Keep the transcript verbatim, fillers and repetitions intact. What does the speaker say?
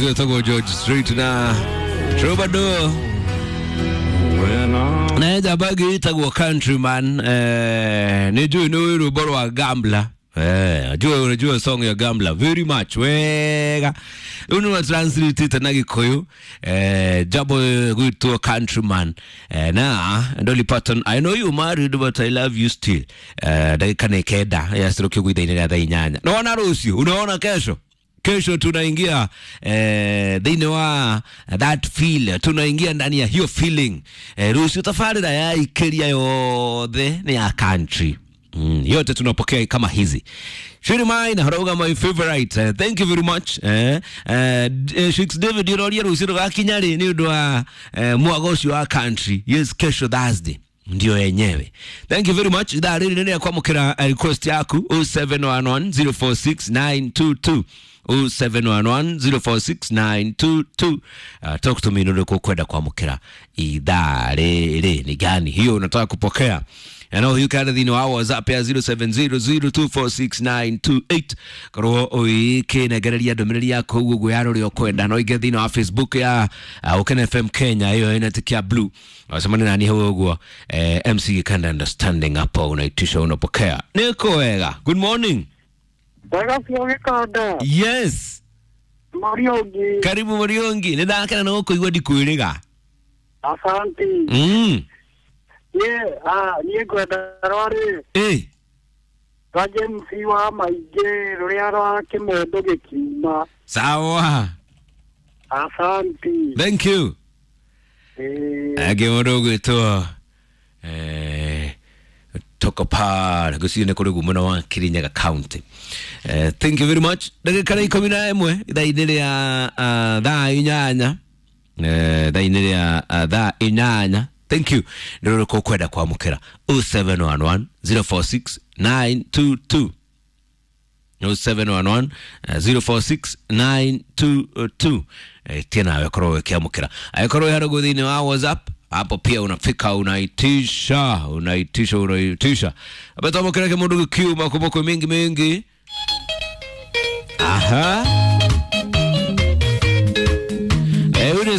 Ũcio George Street na Troubadour na njamba ĩngĩ ĩtagwo Countryman. Eh, nĩ njũĩ nĩ rwĩmbo rwa Gambler. Eh, najua unajua song ya Gambler very much wega. Rĩu nĩ translate na Gĩkũyũ, eh, jambo gwitwo Countryman, eh, na Dolly Parton, "I know you married but I love you still." Eh, ndagĩka nĩ kenda yacirũkio gwitha-inĩ rĩa thaa inyanya. Naona rũciũ, unaona kesho, kesho tunaingia eh, thĩinĩ wa that feel, tunaingia ndani ya hiyo feeling. eh, rũciũ tabarĩra ya ikĩria yothe nĩ ya country. Mm, yote tunapokea kama hizi. Shiri mine harauga my favorite. Uh, thank you very much. Eh, eh, uh, Shix David iroria rũciũ rũgakinya rĩ nĩ ũndũ wa eh, mwago ũcio wa country. Yes, kesho Thursday ndio yenyewe. Thank you very much. Ithaa rĩrĩ nĩ kwamũkĩra request yaku zero seven one one zero four six nine two two, zero seven one one zero four six nine two two. Uh, talk to me, nĩ ũrĩkũ kwenda kwamũkĩra ithaa rĩrĩ, ni gani hiyo unataka kupokea? Na huyu kana thĩinĩ wa WhatsApp ya zero seven zero zero two four six nine two eight, korwo ũikĩnengereria ndũmĩrĩri yaku ũguo ũguo ya rũrĩa ũkwenda. No ingĩ thĩinĩ wa Facebook ya uh, Ũkene F M Kenya, ĩyo ĩna tick ya blue, wacemania nani hau ũguo, eh, M C Gikanda understanding hapo, unaitisha unapokea. Niko wega, good morning. Wega biũ Gĩkanda. Yes. Mũriũngi. Karibu Mũriũngi, nĩ ndakena nĩ gũkũigua, ndikwĩrĩga. Asanti. mm. Niĩ ah, niĩ ngwenda rwarĩ eh. rwa James wa Maingĩ, rũrĩa rwa kĩmondo gĩkiuma. Sawa. Asanti. Thank you. Ĩĩ. Angĩ mũndũ ũgwĩtwo eh, toka pale ngwĩciria nĩ kũrĩ mũno wa Kirinyaga County. eh, thank you very much. Ndagĩka nĩ ikũmi na ĩmwe ithaa-inĩ rĩa uh, thaa inyanya, eh, thaa-inĩ rĩa uh, thaa inyanya. Thank you. Nĩ rũrĩkũ ũkwenda kwamũkĩra? zero seven one one zero four six nine two two, zero seven one one zero four six nine two two. Eh, tia nawe korwo ũkĩamũkĩra. Angĩkorwo wĩ harũgũ thĩinĩ wa WhatsApp hapo pia unafika unaitisha unaitisha unaitisha abatwamũkĩra kĩmũndũ gĩkiuma kũmũkwĩ mingi mingi. Aha.